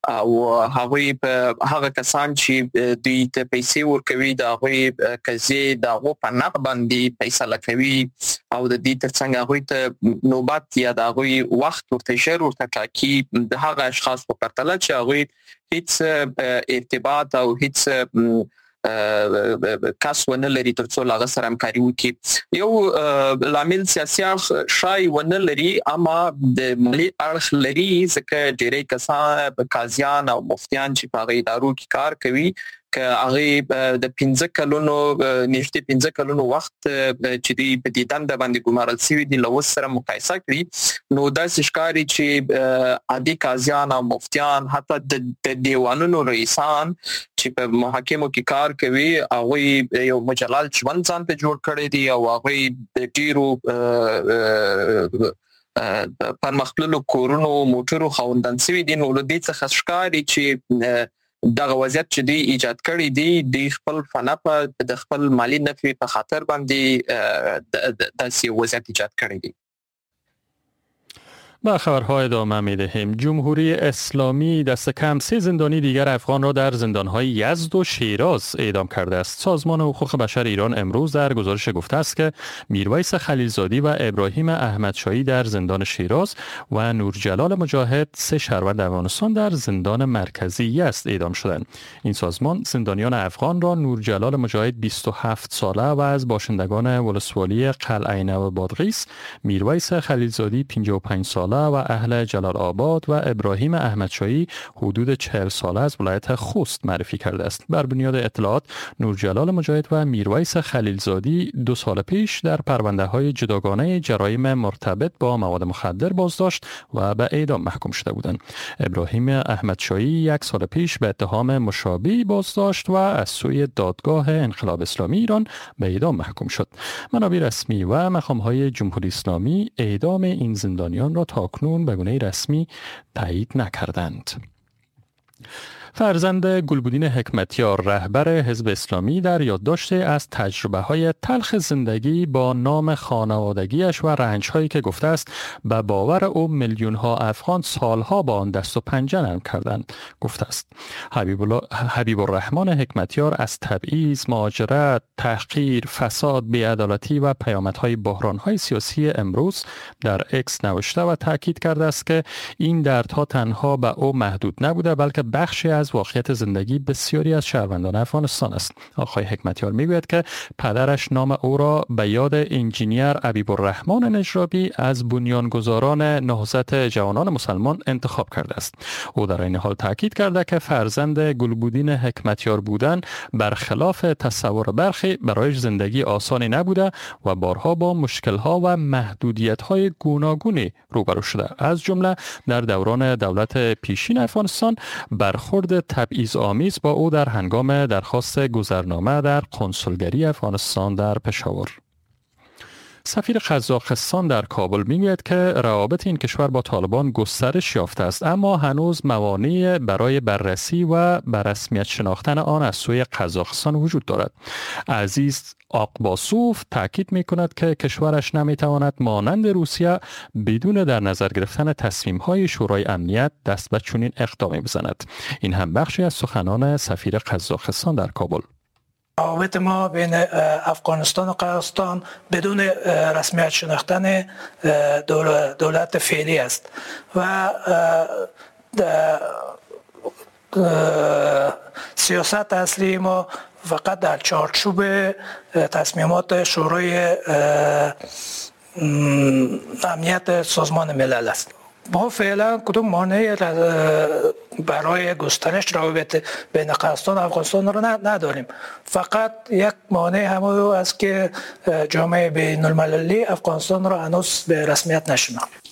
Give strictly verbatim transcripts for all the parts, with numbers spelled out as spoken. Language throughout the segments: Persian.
او هغوی په هغه کسان چې دوی ته پیسې ورکوي د هغوی قضیې د هغو په نق باندې فیصله کوي او د دې ترڅنګ هغوی ته نوبت یا د هغوی وخت ورته ژر ورته ټاکي د هغه اشخاص په پرتله چې هغوی هیڅ ارتباط او هیڅ کس ونه لري ترڅو له هغه سره همکاري وکړي. یو لامل سیاسي اړخ ښايي ونه لري، اما د مالي اړخ لري، ځکه ډېری کسان قاضیان او مفتیان چې په هغه ادارو کې کار کوي که هغه د پنځه کلونو نږدې پنځه کلونو وخت چې دوی په دې دنده باندې ګمارل شوي دي له اوس سره مقایسه کړي، نو داسې ښکاري چې عادي قاضیان او مفتیان حتی د دیوانونو رئیسان چې په محاکمو کې کار کوي هغوی یو مجلل ژوند ځان ته جوړ کړی دی او هغوی د ډېرو پرمختللو کورونو موټرو خاوندان شوي دي. نو له دې څخه ښکاري چې دغه وضعیت چې دوی ایجاد کړی دی دوی خپل فنپه د خپل مالي نفع په خاطر باندې داسې وضعیت ایجاد کړی دی. با خبرها ادامه می دهیم. جمهوری اسلامی دست کم سه زندانی دیگر افغان را در زندانهای یزد و شیراز اعدام کرده است. سازمان حقوق بشر ایران امروز در گزارش گفته است که میرویس خلیلزادی و ابراهیم احمدشاهی در زندان شیراز و نورجلال مجاهد سه شهروند افغانستان در زندان مرکزی یزد اعدام شدند. این سازمان زندانیان افغان را نورجلال مجاهد بیست و هفت ساله و از باشندگان ولسوالی قلعه نو بادغیس، میرویس خلیلزادی پنجاه و پنج ساله و اهل جلال آباد و ابراهیم احمدشاهی حدود چهل ساله از ولایت خوست معرفی کرده است. بر بنیاد اطلاعات نورجلال مجاهد و میرویس خلیلزادی دو سال پیش در پرونده های جداگانه جرایم مرتبط با مواد مخدر بازداشت و به اعدام محکوم شده بودند. ابراهیم احمدشاهی یک سال پیش به اتهام مشابه بازداشت و از سوی دادگاه انقلاب اسلامی ایران به اعدام محکوم شد. منابع رسمی و مقام‌های جمهوری اسلامی اعدام این زندانیان را تا اکنون به گونه رسمی تایید نکردند. فرزند گلبدین حکمتیار رهبر حزب اسلامی در یادداشت از تجربه های تلخ زندگی با نام خانوادگیش و رنج هایی که گفته است به باور او میلیون ها افغان سالها با آن دست و پنجه نرم کردند گفته است. حبیب, حبیب الرحمن حکمتیار از تبعیض، مهاجرت، تحقیر، فساد، بی‌عدالتی و پیامدهای بحران‌های سیاسی امروز در اکس نوشته و تاکید کرده است که این دردها تنها به او محدود نبوده بلکه بخشی از واقعیت زندگی بسیاری از شهروندان افغانستان است. آقای حکمتیار میگوید که پدرش نام او را به یاد انجینیر حبیب الرحمن نجرابی از بنیانگذاران نهضت جوانان مسلمان انتخاب کرده است. او در این حال تاکید کرده که فرزند گلبدین حکمتیار بودن برخلاف تصور برخی برایش زندگی آسانی نبوده و بارها با مشکل‌ها و محدودیت‌های گوناگونی روبرو شده، از جمله در دوران دولت پیشین افغانستان برخورد تبعیض آمیز با او در هنگام درخواست گذرنامه در کنسولگری افغانستان در پشاور. سفیر قزاقستان در کابل میگوید که روابط این کشور با طالبان گسترش یافته است، اما هنوز موانع برای بررسی و به رسمیت شناختن آن از سوی قزاقستان وجود دارد. عزیز آقباسوف تاکید میکند که کشورش نمیتواند مانند روسیه بدون در نظر گرفتن تصمیم‌های شورای امنیت دست به چنین اقدامی بزند. این هم بخشی از سخنان سفیر قزاقستان در کابل. روابط ما بین افغانستان و قزاقستان بدون رسمیت شناختن دولت فعلی است و سیاست اصلی ما فقط در چارچوب تصمیمات شورای امنیت سازمان ملل است. ما فعلا کدوم مانع برای گسترش روابط بین قزاقستان و افغانستان رو نداریم. فقط یک مانع هم است که جامعه بین المللی افغانستان را هنوز به رسمیت نشناخت.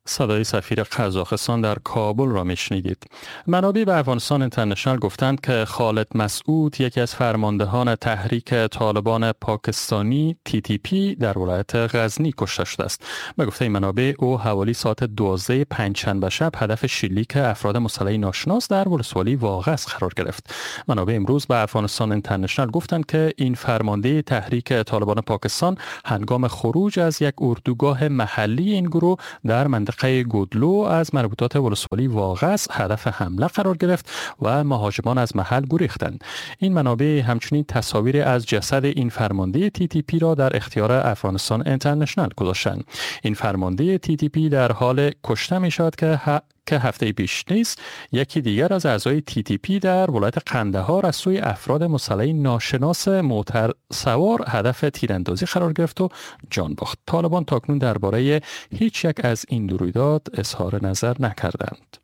صدای سفیر قزاقستان در کابل را میشنیدید. منابع به افغانستان اینترنشنال گفتند که خالد مسعود یکی از فرماندهان تحریک طالبان پاکستانی تی تی پی در ولایت غزنی کشته شده است. به گفته منابع او حوالی ساعت دوازده پنجشنبه شب هدف شلیک افراد مسلح ناشناس در ولسوالی واغس قرار گرفت. منابع امروز به افغانستان اینترنشنال گفتند که این فرمانده تحریک طالبان پاکستان هنگام خروج از یک اردوگاه محلی این گروه در منطقه منطقه گودلو از مربوطات ولسوالی واغس هدف حمله قرار گرفت و مهاجمان از محل گریختند. این منابع همچنین تصاویر از جسد این فرمانده تی تی پی را در اختیار افغانستان اینترنشنال گذاشتند. این فرمانده تی تی پی در حال کشته می شود که ه... که هفته پیش نیز یکی دیگر از اعضای تی تی پی در ولایت قندهار از سوی افراد مسلح ناشناس موتر سوار هدف تیراندازی قرار گرفت و جان باخت. طالبان تاکنون درباره هیچ یک از این دو رویداد اظهار نظر نکردند.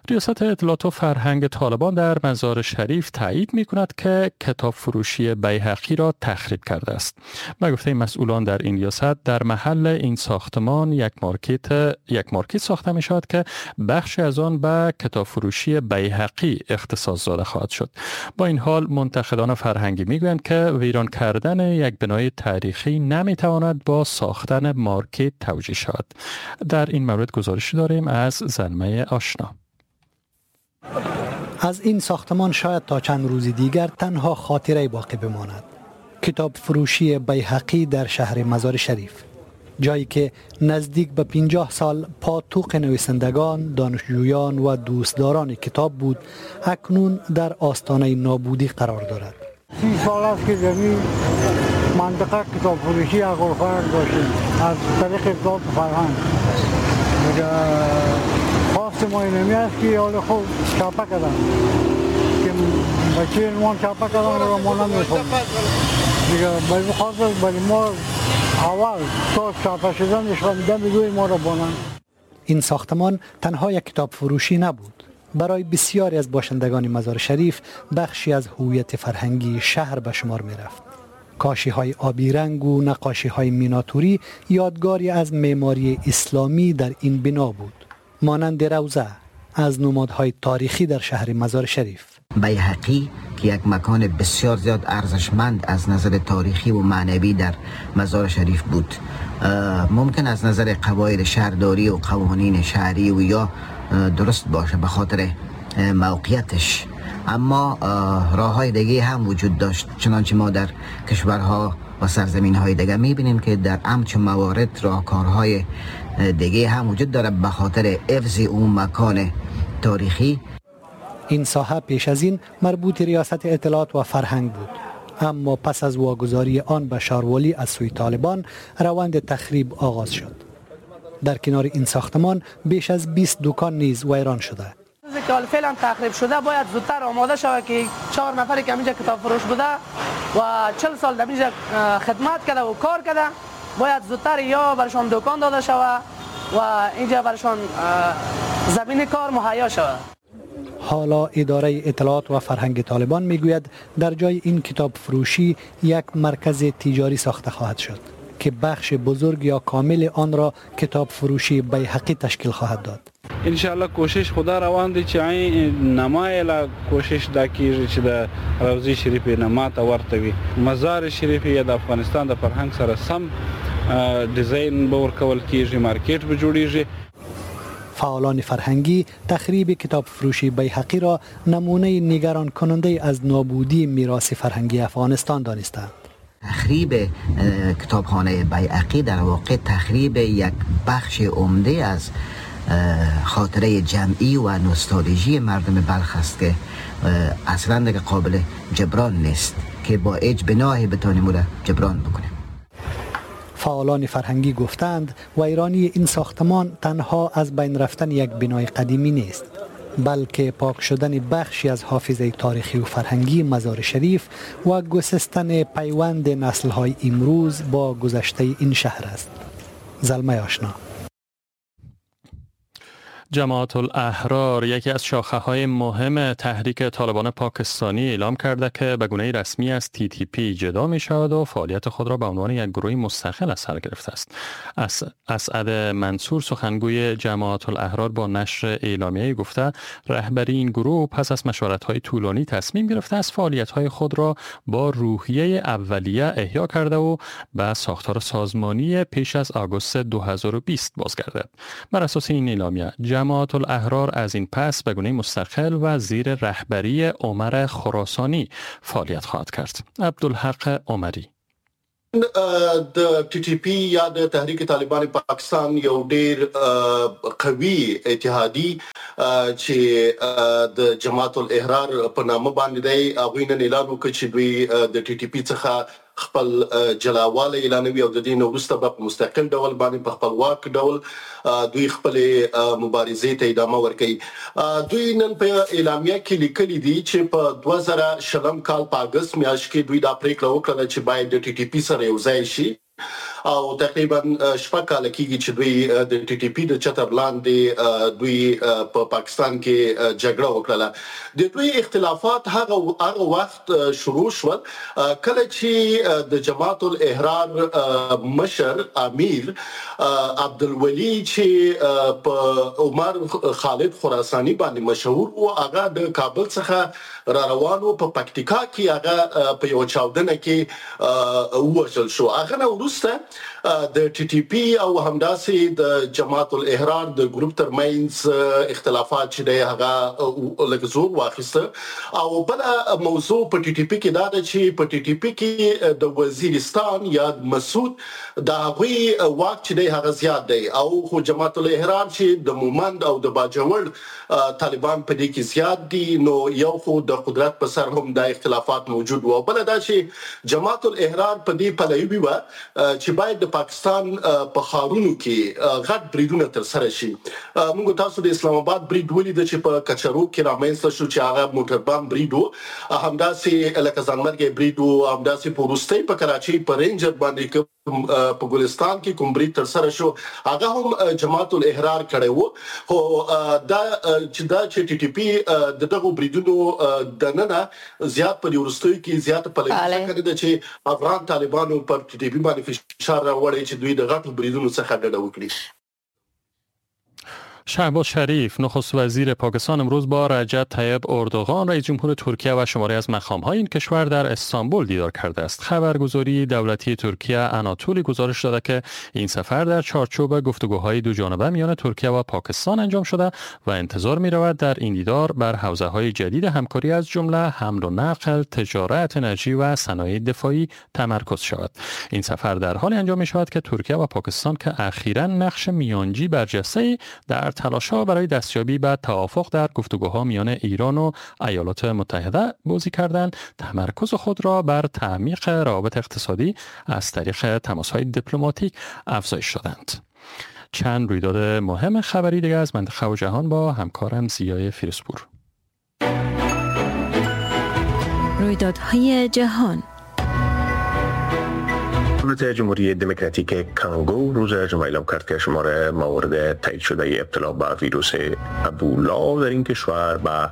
ریاست اطلاعات و فرهنگ طالبان در مزار شریف تایید می کند که کتاب فروشی بیهقی را تخریب کرده است. به گفته مسئولان در این ریاست، در محل این ساختمان یک مارکت یک مارکت ساخته می شود که بخشی از آن به کتاب فروشی بیهقی اختصاص داده خواهد شد. با این حال منتقدان فرهنگی می گویند که ویران کردن یک بنای تاریخی نمی تواند با ساختن مارکت توجیه شود. در این مورد گزارشی داریم از زلمه آشنا. از این ساختمان شاید تا چند روز دیگر تنها خاطره باقی بماند. کتاب فروشی بیهقی در شهر مزار شریف، جایی که نزدیک به پنجاه سال پاتوق نویسندگان، دانشجویان و دوستداران کتاب بود، اکنون در آستانه نابودی قرار دارد. سی سال است که در این منطقه کتاب فروشی اقوال داشتیم از طریق اطلاعات فرهنگ. خواست ما اینمی است که حال خوب چاپه کردن که بچه عنوان چاپه کردن را ما نمیخوام دیگه، باید خواست برای ما اول تا چاپه شدنش فهمیدن بگوی ما را بانن. این ساختمان تنها یک کتاب فروشی نبود، برای بسیاری از باشندگان مزار شریف بخشی از هویت فرهنگی شهر به شمار می رفت. کاشی های آبی رنگ و نقاشی های میناتوری یادگاری از معماری اسلامی در این بنا بود، مانند روضه از نمادهای تاریخی در شهر مزار شریف. بیهقی که یک مکان بسیار زیاد ارزشمند از نظر تاریخی و معنوی در مزار شریف بود، ممکن از نظر قواعد شهرداری و قوانین شهری و یا درست باشه به خاطر موقعیتش، اما راه های دیگه هم وجود داشت، چنانچه ما در کشورها و سرزمین های دیگه میبینیم که در همچون موارد راهکارهای دیگه هم وجود داره به خاطر حفظ اون مکان تاریخی. این ساحه پیش از این مربوط ریاست اطلاعات و فرهنگ بود، اما پس از واگذاری آن به شاروالی از سوی طالبان روند تخریب آغاز شد. در کنار این ساختمان بیش از بیست دکان نیز ویران شده. که حال فعلا تخریب شده باید زودتر آماده شود که چهار نفری که اینجا کتاب فروش بوده و چهل سال در اینجا خدمت کرده و کار کرده، باید زودتر یا برشان دکان داده شود و اینجا برشان زمین کار مهیا شود. حالا اداره اطلاعات و فرهنگ طالبان میگوید در جای این کتاب فروشی یک مرکز تجاری ساخته خواهد شد که بخش بزرگ یا کامل آن را کتاب فروشی بیهقی تشکیل خواهد داد. ان شاء الله کوشش خدا روان دی چې عین نمای لا کوشش دا کیږي چې د روضې شریفې نما ته ورته وي. مزار شریف یا د افغانستان د فرهنګ سره سم ډیزاین به ورکول کیږي، مارکیټ به جوړیږي. فعالان فرهنگی تخریب کتاب فروشی بیهقی را نمونه نگران کننده از نابودی میراث فرهنگی افغانستان دانستند. تخریب کتابخانه بیهقی در واقع تخریب یک بخش عمده از خاطره جمعی و نوستالژی مردم بلخ است که اصلا دیگه قابل جبران نیست که با هیچ بناهی بتانیم او را جبران بکنیم. فعالان فرهنگی گفتند ویرانی این ساختمان تنها از بین رفتن یک بنای قدیمی نیست، بلکه پاک شدن بخشی از حافظه تاریخی و فرهنگی مزار شریف و گسستن پیوند نسل‌های امروز با گذشته این شهر است. زلمه آشنا. جماعت الاحرار یکی از شاخه های مهم تحریک طالبان پاکستانی اعلام کرده که به گونه رسمی از تی تی پی جدا می شود و فعالیت خود را به عنوان یک گروه مستقل از سر گرفته است. اسعد منصور سخنگوی جماعت الاحرار با نشر اعلامیه‌ای گفته رهبری این گروه پس از مشورت‌های طولانی تصمیم گرفته است فعالیت‌های خود را با روحیه اولیه احیا کرده و به ساختار سازمانی پیش از آگوست دو هزار و بیست بازگردد. بر اساس این اعلامیه جماعت الاحرار از این پس به گونه مستقل و زیر رهبری عمر خراسانی فعالیت خواهد کرد. عبدالحق عمری. د ټي ټي پي یا د تحریک طالبان پاکستان یو ډیر قوي اتحادي چې د جماعت الاحرار په نامه باندې دی، هغوی نن اعلان وکړ چې دوی د ټي ټي پي څخه خپل جلاوالی اعلانوي او د دې نه وروسته به په مستقل ډول باندې په خپلواک ډول دوی خپلې مبارزې ته ادامه ورکوي. دوی نن په اعلامیه کې لیکلي دي چې په دوه زره شلم کال په اګست میاشت کې دوی دا پریکړه وکړه چې باید د ټي ټي پي سره یو ځای شي او تقریبا شپږ کاله کیږي چې دوی د ټي ټي پي د چتر لاندې دوی په پاکستان کې جګړه وکړه. د دوی اختلافات هغه هغه وخت شروع شول کله چې د جماعت الاحرار مشر امیر عبدالولي چې په عمر خالد خراساني باندې مشهور و، هغه د کابل څخه را روان و، په پکتیکا کې هغه په یو چاودنه کې ووژل شو. هغه نه وروسته د ټي ټي پي او همداسې د جماعت الاحرار د ګروپ ترمنځ اختلافات چې دی هغه لږ زور واخیسته. او بله موضوع په ټي ټي پي کې دا ده چې په ټي ټي پي کې د وزیرستان یا مسعود د هغوی واک چې دی هغه زیات دی، او خو جماعت الاحرار چې د مومند او د باجوړ طالبان په دې کې زیات دي، نو یو خو د قدرت په سر هم دا اختلافات موجود وو. بله دا چې جماعت الاحرار په دې پلوي وه چې باید د پاکستان په ښارونو کې غټ بریدونه ترسره شي. موږ تاسو د اسلام آباد برید ولید چې په کچرو کې رامنځته شو چې هغه موټر بم برید و، همداسې لکه ځانمرګی برید و، همداسې په وروستۍ په کراچۍ په رینجر باندې په ګلستان کې کوم برید ترسره شو هغه هم جماعت الاحرار کړی و. خو دا چې دا چې ټي ټي پي د دغو بریدونو دننه زیات په دې وروستیو کې زیات پلوي ځکه ده چې افغان طالبانو پر ټي ټي پي باندې فشار راوړی چې دوی د غټو بریدونو څخه ډډه وکړي. شهباز شریف نخست وزیر پاکستان امروز با رجب طیب اردوغان رئیس جمهور ترکیه و شماری از مقام‌های این کشور در استانبول دیدار کرده است. خبرگزاری دولتی ترکیه آناتولی گزارش داده که این سفر در چارچوب گفتگوهای دو جانبه میان ترکیه و پاکستان انجام شده و انتظار می‌رود در این دیدار بر حوزه‌های جدید همکاری از جمله حمل و نقل، تجارت، انرژی و صنایع دفاعی تمرکز شود. این سفر در حالی انجام می‌شود که ترکیه و پاکستان که اخیراً نقش میانجی برجسته در تلاش‌ها برای دستیابی به توافق در گفتگوها میان ایران و ایالات متحده بازی کردند، تمرکز خود را بر تعمیق روابط اقتصادی از طریق تماس‌های دیپلماتیک افزایش دادند. چند رویداد مهم خبری دیگر از منطقه و جهان با همکارم ضیای فیروزپور. رویدادهای جهان. دولت جمهوری دموکراتیک کانگو روز جمعه اعلام کرد که شمار موارد تایید شده ابتلا به ویروس ابولا در این کشور به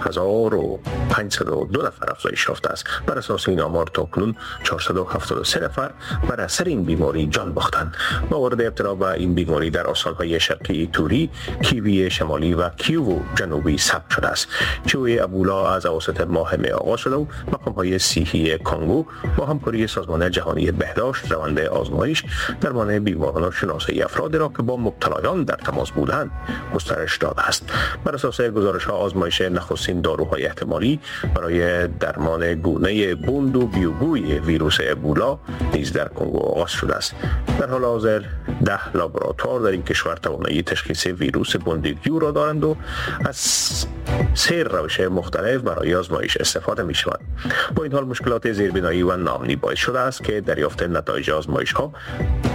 هزار و پانصد و دو نفر افزایش یافته است. بر اساس این آمار تاکنون چهارصد و هفتاد و سه نفر بر اثر این بیماری جان باختند. موارد ابتلا به این بیماری در استان‌های شرقی توری، کیوی شمالی و کیوو جنوبی ثبت شده است. شیوع ابولا از اواسط ماه می آغاز شده و مقام‌های صحی کانگو با همکاری سازمان جهانی بهداشت روند آزمایش درمان بیماران و شناسایی افراد را که با مبتلایان در تماس بودند گسترش داده است. بر اساس گزارش‌ها آزمایش نخستین داروهای احتمالی برای درمان گونه بوند و بیوگوی ویروس ابولا نیز در کنگو آغاز شده است. در حال حاضر ده لابراتوار در این کشور توانایی تشخیص ویروس بوندیگیو را دارند و از سه روش مختلف برای آزمایش استفاده می شود. با این حال مشکلات زیربنایی و ناامنی باعث شده است که دریافت نتایج آزمایش ها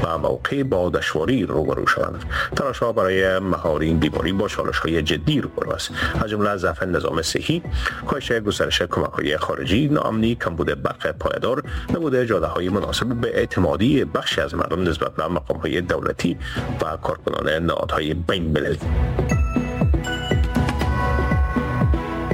به موقع با دشواری روبرو شوند. تلاش ها برای مهار این بیماری با چالش های جدی روبرو است، از جمله ضعف نظام صحی، کاهش گسترش کمک های خارجی، ناامنی، کمبود برق پایدار، نبود جاده های مناسب به اعتمادی بخشی از مردم نسبت به مقام های دولتی و کارکنان نهادهای بین المللی.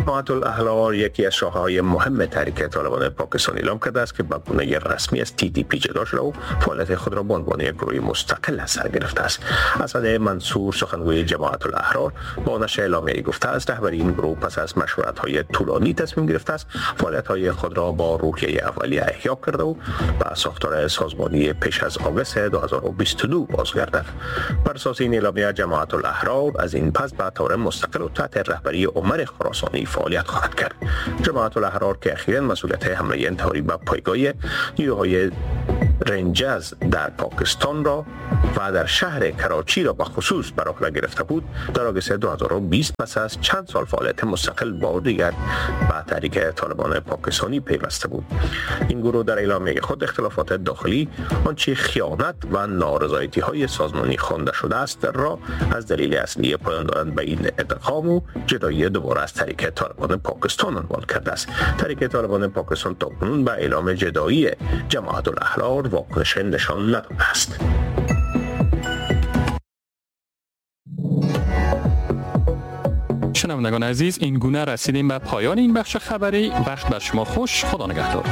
جماعت الاحرار یکی از شاخه‌های مهم تحریک طالبان پاکستان اعلام کرده است که به گونه رسمی از تی تی پی جدا شده و فعالیت خود را به عنوان یک گروه مستقل از سر گرفته است. اسد منصور سخنگوی جماعت الاحرار با نشر اعلامیه‌ای گفته است رهبری این گروه پس از مشورت‌های طولانی تصمیم گرفته است فعالیت‌های خود را با روحیه اولیه احیا کرده و به ساختار سازمانی پیش از آگوست دو هزار و بیست و دو بازگردد. بر اساس این اعلامیه جماعت الاحرار از این پس به طور مستقل و تحت رهبری عمر خراسانی فعالیت خواهد کرد. جماعت الاحرار که اخیراً مسئولیت حمله انتحاری به پایگاه نیروهای رنجز در پاکستان را و در شهر کراچی را به خصوص بر عهده گرفته بود، در آگوست دو هزار و بیست پس از چند سال فعالیت مستقل با دیگر به تحریک طالبان پاکستانی پیوسته بود. این گروه در اعلامیه خود اختلافات داخلی، آنچه خیانت و نارضایتی های سازمانی خوانده شده است را از دلیل اصلی پایان دادن به این ادغام و جدایی دوباره از تحریک طالبان پاکستان عنوان کرده است. تحریک طالبان پاکستان تاکنون به اعلام جدایی جماعت الاحرار واکنش نشان نداده است. شنوندگان عزیز، این گونه رسیدیم به پایان این بخش خبری. وقت بر شما خوش. خدا نگهدار.